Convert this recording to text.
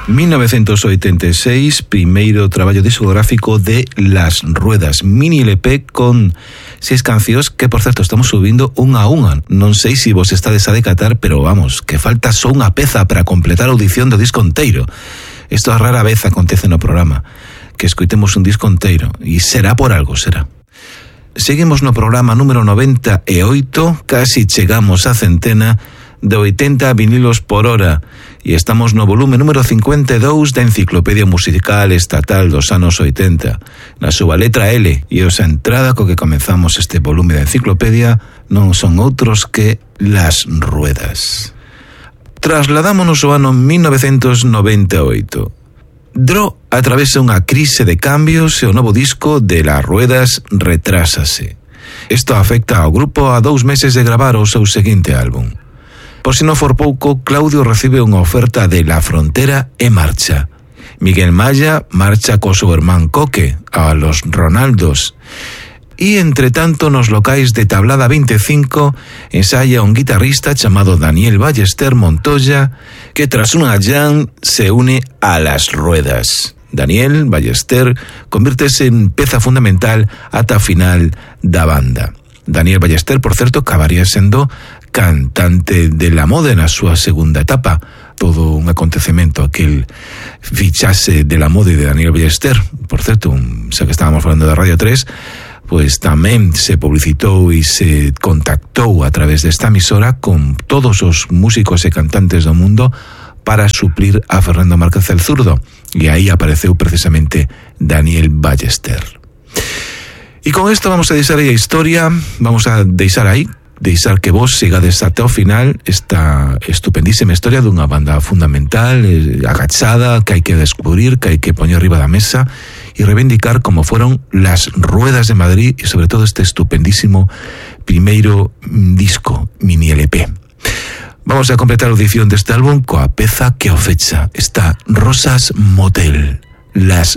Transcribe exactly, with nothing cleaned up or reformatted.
mil novecientos oitenta e seis, primeiro traballo discográfico de Las Ruedas, mini L P con seis cancións que, por certo, estamos subindo unha a unha. Non sei se vos estades a decatar, pero vamos, que falta só unha peza para completar a audición do disco inteiro. Isto a rara vez acontece no programa, que escoitemos un disco inteiro, e será por algo, será. Seguimos no programa número noventa e oito, casi chegamos á centena de oitenta vinilos por hora, e estamos no volume número cincuenta e dous da Enciclopedia Musical Estatal dos anos oitenta. Na súa letra L, e esa entrada co que comenzamos este volume da enciclopedia non son outros que Las Ruedas. Trasladámonos ao ano mil novecientos noventa e oito. Dro atravesa unha crise de cambios e o novo disco de Las Ruedas retrásase. Isto afecta ao grupo a dous meses de gravar o seu seguinte álbum. Por si non for pouco, Claudio recibe unha oferta de La Frontera e marcha. Miguel Maya marcha co seu irmán Coque a Los Ronaldos. E, entre tanto, nos locais de Tablada veinticinco ensaya un guitarrista chamado Daniel Ballester Montoya, que tras unha jam se une a Las Ruedas. Daniel Ballester convírtese en peza fundamental ata a final da banda. Daniel Ballester, por certo, acabaría sendo cantante de La Mode na súa segunda etapa. Todo un acontecemento aquel fichase de La Mode de Daniel Ballester. Por certo, xa que estábamos falando de Radio tres, pois tamén se publicitou e se contactou a través desta emisora con todos os músicos e cantantes do mundo para suplir a Fernando Márquez el Zurdo, e aí apareceu precisamente Daniel Ballester. E con isto vamos a deixar aí a historia, vamos a deixar aí deixar que vos sigades ata o final esta estupendísima historia dunha banda fundamental, agachada, que hai que descubrir, que hai que poñer arriba da mesa e reivindicar como foron Las Ruedas de Madrid, e sobre todo este estupendísimo primeiro disco mini L P. Vamos a completar a audición deste álbum coa peza que o fecha, esta Rosas Motel, Las